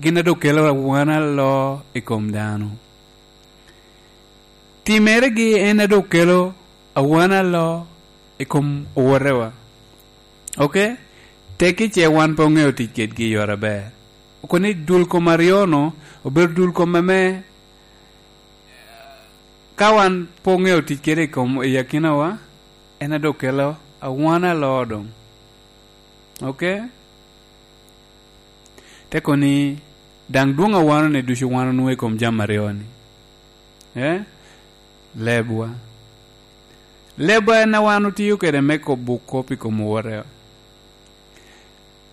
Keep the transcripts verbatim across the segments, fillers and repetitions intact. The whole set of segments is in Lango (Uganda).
gin a dok kelo awan aloo i kom dano. Timeregi en a dok kelo awan aloo i kom owotewa. Oke? Tekki ce wan pe oŋeo tic kedgi i yore aber. Okono ni dul kom aryo-nu obedo dul kom ame ka wan pe oŋeo tic kede i kom, i akinawa, en a dok kelo awan aloo doŋ. Oke? Te kono ni, daŋ dwoŋ awano-ni ducu wan onwoŋo i kom jami aryo-ni. Eh? Lebwa. Lebwa en a wan otio kede me kobo kop i kom owotewa.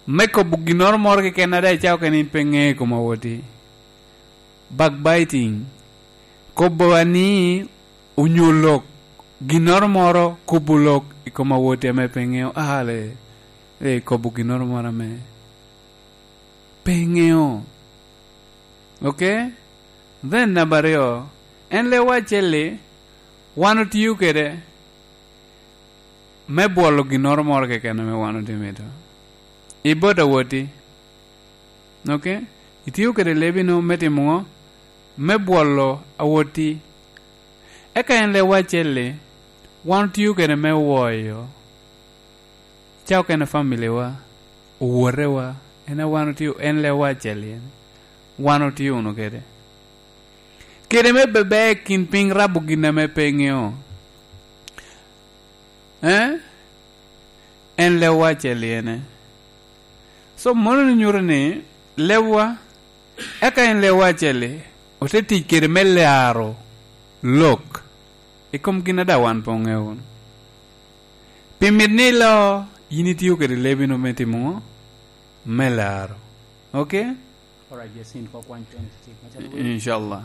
Me kobo ginnoro moro keken a daŋ icako kene in pe ŋeo i kom awotti. Backbiting. Kobo ani onyo lok, ginnoro moro, kobo lok i kom awotti ame pe ŋeo. Ah, le, le, kobo ginnoro moro ame pe ŋeo. Oke? Then namba aryo, en lewa acel-li, wan otio kede me bwolo ginnoro moro keken ame wan otye mito. I bot awotti. Oke? Itio kede lebi-nu me timo ŋo? Me bwolo awotti. Eka en lewa acel-li, wan otio kede me woyo. Ca okene familiwa, owotewa, en a wan otio, en lewa acel-li en. Wan otio wunu kede. Kede me bebe kin piny rabo gin ame pe ŋeo. Eh? En lewa acel-li ene. So, mono ni nyuto ni lewa, eka en lewa acel-li, ote tic kede me laro lok i kom gin a daŋ wan pe oŋeo wunu. Pi mit ni ilo, yin itio kede lebi-nu me timo ŋo? Me laro. Oke? Alright, Yasin, kok wan twenty-six. Macalo winy. Inshallah.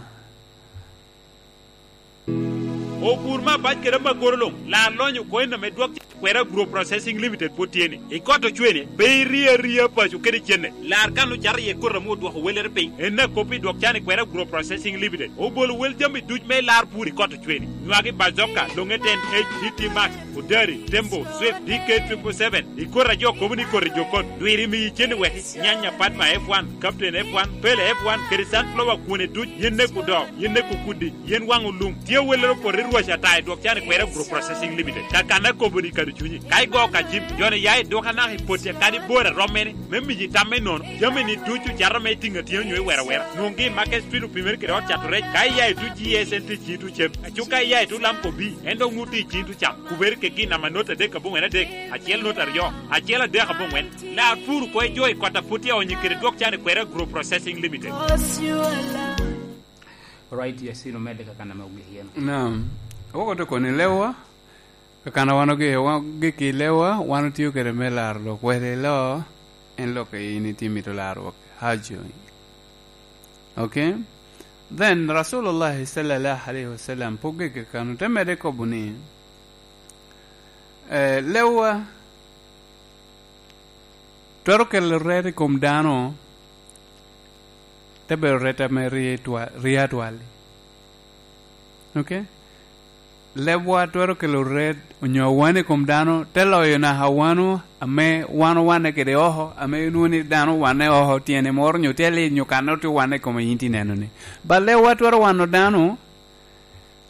Opur me abac kede amagoro luŋ, lar lonyo oko en ame dwok Kwera Agro Processing Limited pwod tye ni. I kot ocwene, pe iri aria paco kede cene. Lar kan ocato iye koti ame odwoko wellere piny. En a kop i dwok can i Kwera Agro Processing Limited. Obolo wel jami duc me lar pur i kot ocwene. Nywagi bazoka, longe ten H, D T Max, Odari, Tembo, Swift, D K triple seven. I koti a jo kobo ni koti jo kot. Dwiri miyi cene wek nyanya Padma F one, Captain F one, Pele F one, kede sunflower kwone duc, yen neko do, yen neko kudi, yen waŋo lum. Tye awellere opoto i rwac ata i dwok can i Kwera Agro Processing Limited. Kakana kobo ni kado cunyi. Ka igo ka cim, joni ya i duka naka i potti kadi bor a rom mene, me miyi tam me nono. Jami ni ducu cato me tiŋ atiŋa nyo i wera wera. Nwoŋgi i Market Street opimere kede ot cato rec. Ka iya i duc G S N T G two cem. Aco ka iya i tu lam kobi, en dok ŋut i cim tu cam. Kubere kegi namba not adek aboŋwen adek, acel not aryo, acel adek aboŋwen. Lar pur oko i jo i kot a pwod tye aonyo kede dwok can i Kwera Agro Processing Limited. Right, Yasin, omedde kakana me ogik yen. Naam. Woko to koni lewa, kakana wan ogi-, wa-, gik i lewa, wan otio kede me laro lok wede lo, en lok in itye mito laro wok. Hajo. Okay? Then, Rasulullah sallallahu alaihi wasallam, pwod gik kakano, te mede kobo ni, eh, lewa twero kelo ret i kom dano, te bedo ret ame rie twa-, rie atwal. Okay? Lebwa twero kelo ret onyo awan i kom dano, te loyo naka wano ame wan owanne kede oko, ame inwoŋo ni dano owanne oko tyene moro nyo tye lit nyo kanne otye owanne i kome yin tye neno ni. Ba lebwa twero wano dano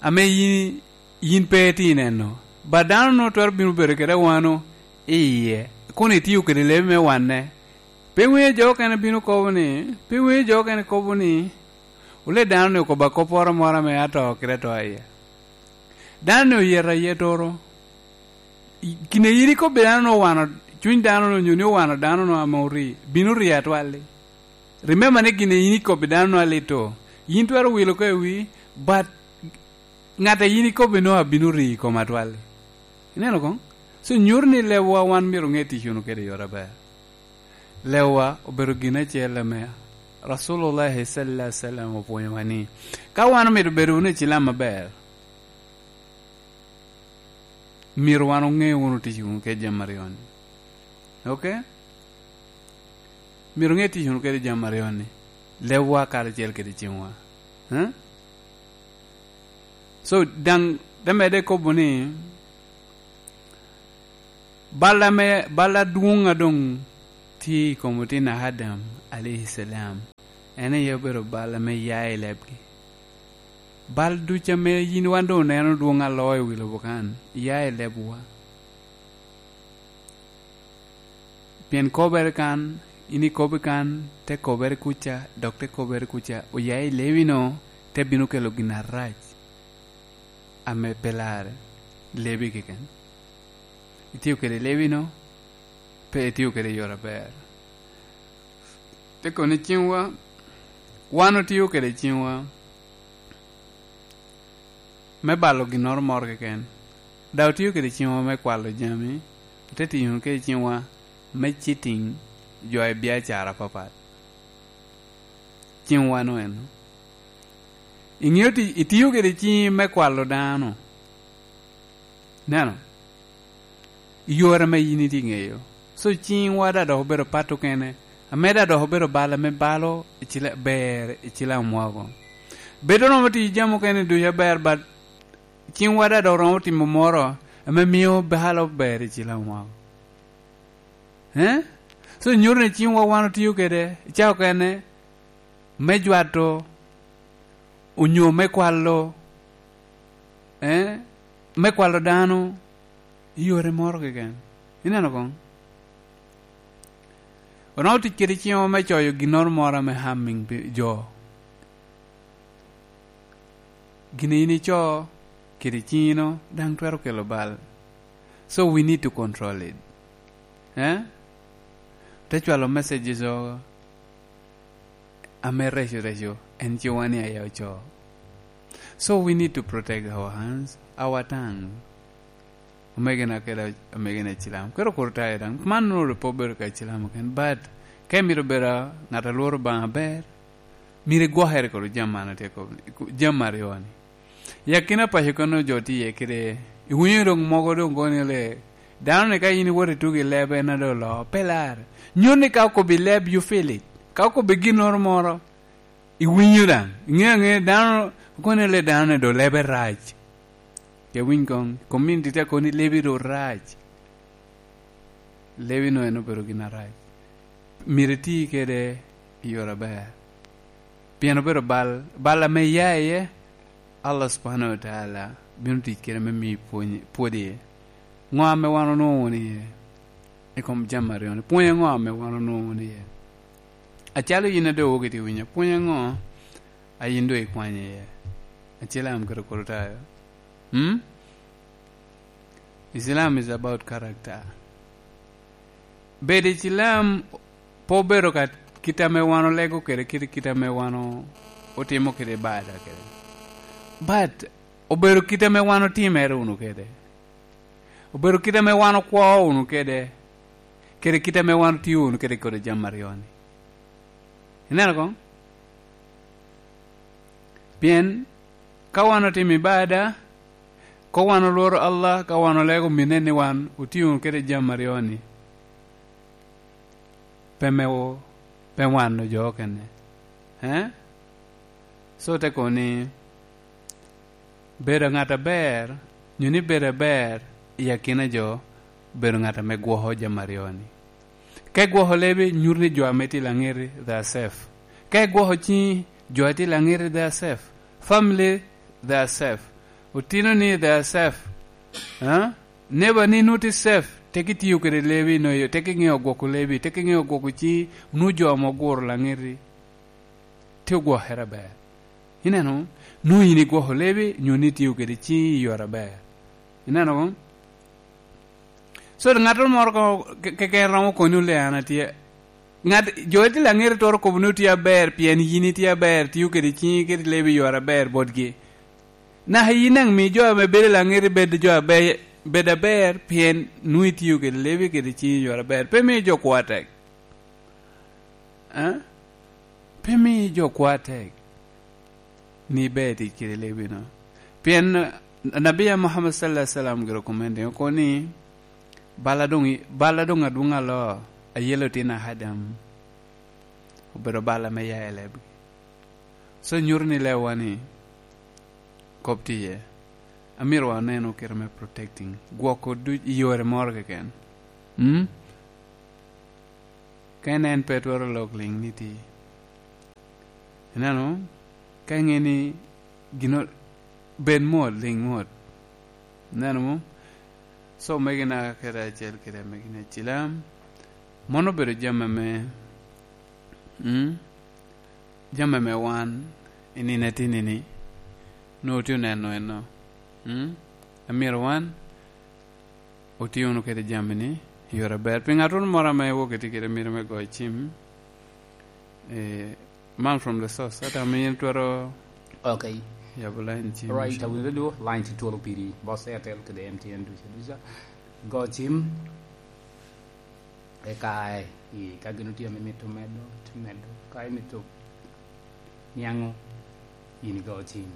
ame yin, yin pe itye neno. Ba dano nwoŋo twero bino bedo kede awano i iye, kun itio kede lebi me wanne. Pe iwinyo jo okene bino kobo ni, pe iwinyo jo okene kobo ni, "Wule dano-ni okobo akopporo moro ame ato kede ato iye." Dano-ni oyet ayet oro. I, kine yin ikobbi dano-nu owano, cuny dano-nu onyo ni owano dano-nu ame ori, bino ri atwal-li. Remember ni gin yin ikobbi dano-nu alit o. Yin twero wilo oko i wi, but ŋat a yin ikobbi-nu abino ri i kom atwal-li. Ineno koŋ? So, nyuto ni lebwa wan myero oŋe tic wunu kede i yore aber. Lebwa obedo gin acel ame Rasulullah sallallahu alaihi wasallam opwonyowa ni, ka wan omito bedo wunu ecilam aber, myero wan oŋe wunu tic wunu kede jami aryo-ni. Okay? Myero oŋe tic wunu kede jami aryo-ni. Lebwa karacel kede cimwa. Huh? So, daŋ te medde kobo ni, bal ame, bal adwoŋ a doŋ tye i kom otin a Adam, alaihi salam, En aye obedo bal ame ya i lebgi. Bal ducu ame yin wan doŋ oneno dwoŋ aloo i wi lobo kan, ya i lebwa. Pien kobere kan, in ikobo kan, te kobere kuca, dok te kobere kuca, oya i lebi-nu, te bino kelo gin arac ame pe larre, lebi keken. Itio kede lebi-nu, pe itio kede i yore aber. Te kono i ciŋwa, wan otio kede ciŋwa me balo ginnoro moro keken, daŋ otio kede ciŋwa me kwalo jami, ote tiyo kede ciŋwa me cheating jo i biacara apapat. Ciŋwa-nu eno. Iŋeo ti-, itio kede ciŋi me kwalo dano. Neno, i yore ame yin itye ŋeyo. So, ciŋwa daŋ dok obedo pat okene, ame daŋ dok obedo bal ame balo i cila-, ber i cilam woko. Bedo romo tiyo jami okene ducu aber, but ciŋwa daŋ dok romo timo moro ame mio balo ber i cilam woko. Eh? So, nyuto ni ciŋwa wan otio kede i cawa okene me jwato, onyo me kwalo, eh, me kwalo dano i yore moro keken. Ineno koŋ? Onwoŋo tic kede ciŋwa me coyo ginnoro moro ame harming pi-, jo. Gin a yin ico kede ciŋino daŋ twero kelo bal. So we need to control it. Eh? Te cwalo messages o ame reco reco, en ciŋwa ni aye oco. So we need to protect our hands, our tongue. Omegina kede omegina i cilam. Kede okur tayo daŋ. Man nwoŋo pe obedo ka i cilam oken. But, ka imito bedo ŋat a lworo Obaŋa aber, myero igwokere kede jami man atye kobo ni, jami aryo-ni. I akina paco kono jo tye iye kede, iwinyo doŋ mogo doŋ kono ni le, dano-ni ka in iwoto itugo i leb en a doŋ oloo, pe larre. Nyuto ni ka okobbi leb, you feel it. Ka okobbi ginnoro moro, iwinyo daŋ. Iŋeo aŋea, dano, kono ni le dano-ni doŋ lebe rac. Ke winy koŋ, community te kono ni lebi doŋ rac. Lebi-nu en obedo gin arac. Myero iti kede i yore aber. Pien obedo bal, bal ame iya iye, Allah subhanahu wa ta'ala bino tic kede me miyi pwony, pwod iye. Ŋo ame wan onwoŋo wunu iye i kom jami aryo-ni? Pwony aŋo ame wan onwoŋo wunu iye? Acalo yin a doŋ iwok itye winyo, pwony aŋo a yin doŋ ikwanyo iye? Acel am kede kolo tayo. Hmm? Islam is about character. Bedo Icilam pe obedo ka kit ame wan olego kede, kit, kit ame wan o-, otimo kede ibada kede. But obedo kit ame wan otimere wunu kede. Obedo kit ame wan okwo wunu kede, kede kit ame wan otio wunu kede kodi jami aryo-ni. Ineno koŋ? Pien ka wan otimo ibada, ka wan olworo Allah, ka wan olego mine ni wan otio wunu kede jami aryo-ni, pe me wo, pe wan ojo kene. Eh? So te kono ni, bedo ŋat aber, nyo ni bedo aber i akina jo, bedo ŋat ame gwoko jami aryo-ni. Ka igwoko lebi, nyuto ni jo ame tye i laŋeti, they are safe. Ka igwoko ciŋi, jo a tye i laŋeti, they are safe. Family, they are safe. Otinoni, they are safe. Eh? Neighbor ni nwoŋo tye safe, tek itiyo kede lebi, nwoŋo tek iŋeo gwoko lebi, tek iŋeo gwoko ciŋi, nwoŋo jo ame oguro laŋeti tye ogwokere aber. Ineno, nwoŋo yin igwoko lebi, nyo ni itio kede ciŋi i yore aber. Ineno koŋ? So, ŋattoro moro ko-, ke-, keken romo koni ole an atye. Ŋat, jo a tye laŋeti twero kobo ni otye aber, pien yin itye aber, tio kede ciŋi kede lebi i yore aber botgi. Naka yin daŋ mi jo ame bedo i laŋeti bed jo aber, bed aber, pien nwoŋo itio kede lebi kede ciŋi i yore aber. Pe miyo jo kwo atek. Eh? Pe mi jo kwo atek ni iber tic kede lebi-nu. Pien Nabia Muhammad sallallahu alaihi wasallam gire okomente oko ni, "Bal a doŋ i-, bal a doŋ adwoŋ aloo, ayelo tin a Adam, obedo bal ame ya i lebgi." So nyuto ni lewa ni, kop tye iye. Amito waneno kite me protecting, gwoko duc i yore moro keken. Mm? Ka en, en pe twero lok liŋ ni ti. Ineno? Ka iŋe ni gino, bed mot, liŋ mot. Ineno mo? So, omegina kede acel kede amegina Ecilam, mano obedo jami ame, mm, jami ame wan i nino atini-ni nwoŋo otye oneno eno. Mm? Amyero wan otye wunu kede jami-ni i yore aber. Pi ŋattoro moro ame wok etye kede mito me goyo cim, eh, man from the source. Ata ame in twero Okay. Yabo line cim. Right, awinyo du, line tye twolo piri, boss Airtel kede M T N duca duca. Go cim, eka, eh, ka gin otye ame mito medo, ti medo. Ka imito niaŋo, in igo cim.